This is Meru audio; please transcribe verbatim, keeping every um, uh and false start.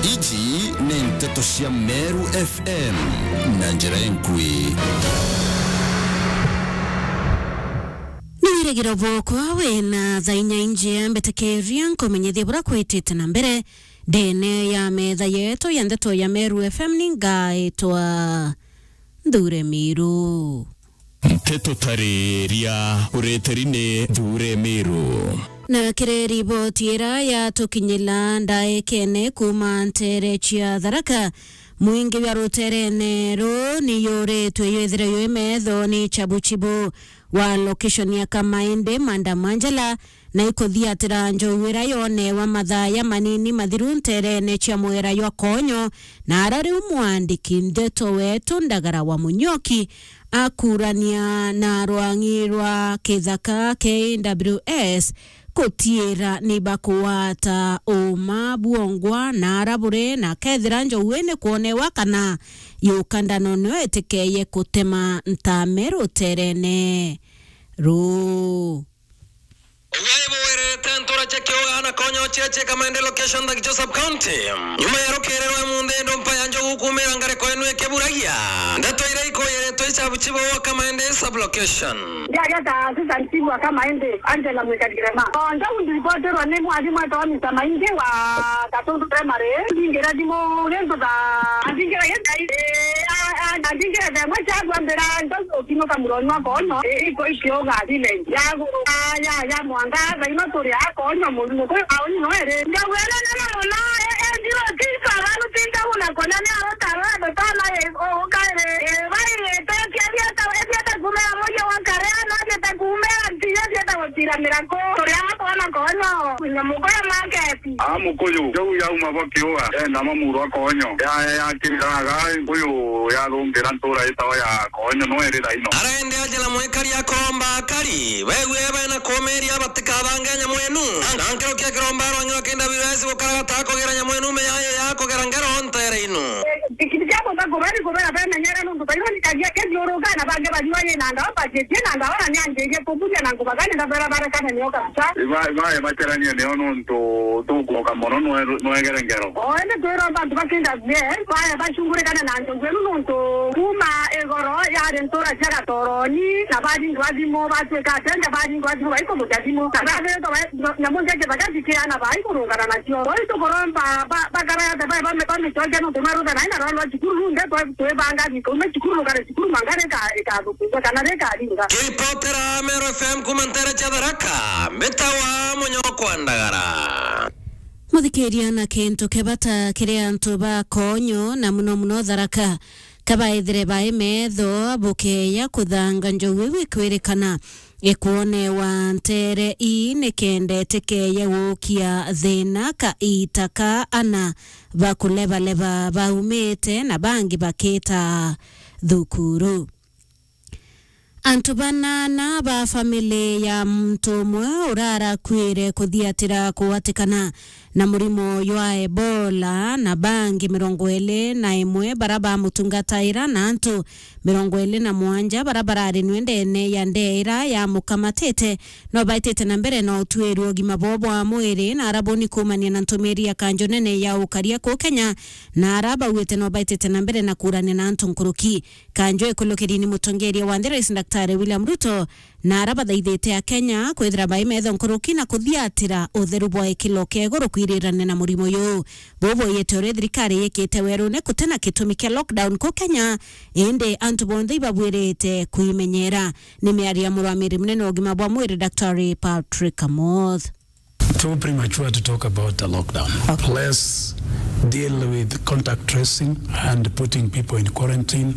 Iji ni nteto cia Meru F M na njira enkui. Ni wirigiro bwokwa wina thaa inya injia mbitikiria nkumenyithie buria kwitite na mbere ndene ya metha yetu ya nteto ya Meru F M. Ni ngaitwa Nthure Miru. Nteto tariria ureteri ni Nthure Miru. Na kiri riboti ira yatukinyira ndaikene kuuma ntere cia Tharaka, mwingi wa ruterene ru ni yuritwe yethire yu metho ni Chabuchibu wa location ya Kamaende, Manda Manjala, na ikuthiatira njogu ira yonewa mathaa ya manini mathiru nterene cia mwera jwa Konyo, na ara riu mwandiki ndeto wetu Ndagara wa Munyoki akurania na rwang'i rwa kithaka K W S kutiira ni bakugwata uuma bwongwa na ara buri, na kethira njogu ni kwonewa kana yukandano nio itikeye kutema ntame ruterene ruu. Ugai bwirite ntura cia Kiuga na Konyo cia cia Kamaende location Thagicho sub county. Nyuma ya rukiri rwa munthi ndompa ya njogu kumira ngariko inu ikiburagia. Ndeto iria ikuyiritwe icabu cibo wa Kamaende sub location. Ndiaria ta assistant chief wa Kamaende, Angela Mwikagirema. O njogu ndiripotirwe ni mwarimũ etagwa Mister Maingi wa Gatundu Primary. Ndingira thimu gintu ta, ndingira githai, eh, a, a, ndingira themwe cia kwambira njogu ukinuka muroni wa Konyo, eh, iko ikiuga village. Ya guru, ya, ya, ya mwanga, thaino turi a Konyo murimo kwi auni no ere. Njogu ene nene muno, e, e, ndio tisa, banu tinda una kona ni arota, arota tana, e, o, ukaire, e, bai, e, te, tia, biata, e, biata kumera moyo wa kare, no, biata kumera, ntiyo, biata gutiramira ko. Turi a Konyo, Konyo, nyamuko ya market. A Mukuyu, jau yauma bo Kiuga, enda mamurwa Konyo. Ya, ya, ya, kiriraga, Nkuyu yathungira ntura itawa ya Konyo, no iri thaino. Arende aja na mwikari akomba akari, begue bena kumiria batikabange nyamwenu. Na, na nkiro kia kiromba rwang'i rwa kenda biwezi gukaragata kugera nyamwenu meyaye ya kugera ngero ntere inu. Kiti kia bota kubari kubera bemenyere nuntu baironi kagia kegiuruka na bange bariwa ye na ndawa bajetie na ndawa na nyanjeje kuburia na ngubagani na bara bara kana nyoka. Ibae, ibae baceranie nio nuntu tukuoka mono nwe-, nwegere ngero. O, indi twiromba antu bakinda bie, bae bacungurikane na njogu inu nuntu kuuma igoro yari ntura cia Gatoroni, na baringwa thimu, batwika atenda baringwa thimu, baikumuja thimu. Na bathiritwe ba-, nyamu nja kithaka cikiana baikurungana nacio. Oi tukuromba ba-, bakara ata bae bame-, bamicokia nuntu mweruta nai na rwano rwa cukuru runde twe-, twibanga biko, ume cukuru rukare cukuru mangare ka-, ikathukua. Kana rikaringa. Kiripotera Meru F M kuuma ntere cia Tharaka, mbitawa Munyokwa Ndagara. Muthikiria, na kintu kia bata kiri antu ba Konyo, na muno muno Tharaka, kabaithire bai metho bukeya kuthanga njogu iu ikwirikana ikwonewa ntere ii, nikenda itikeye gukia thina ka iita ka ana bakulebaleba baumite na bangi bakita thukuru. Antu banana ba family ya muntu umwe urarakuire kuthiatira kugwatikana na murimo jwa Ebola, na bangi mirongo iri na imwe bara bamutungataira, na antu mirongo iri na mwanja bara bararinwe ndene ya ndea ira yamukamatite, no baitite na mbere na utuiri ugima bwao bwa mwiri, na arabuni kuumania na ntumiri ya kanjo nene ya ukaria kuu Kenya, na ara bauite no baitite na mbere na kuurania na antu nkuruki. Kanjo ikulukiri ni mutongeria wa nthi, Rais Daktari William Ruto, na ara bathaithite Akenya kwithira bai metho nkuruki na kuthiatira utheru bwa ikilo kia iguru kwirirania na murimo uyu. Buu bwiyite uria thirikari yikite werune kuti na gitumi kia lockdown ku Kenya, indi antu bonthe ibabwirite kwimenyera. Ni miario ya murwamiri munene wa ugima bwa mwiri, Daktari Patrick Amoth. Too premature to talk about a lockdown. Okay. Let's deal with contact tracing and putting people in quarantine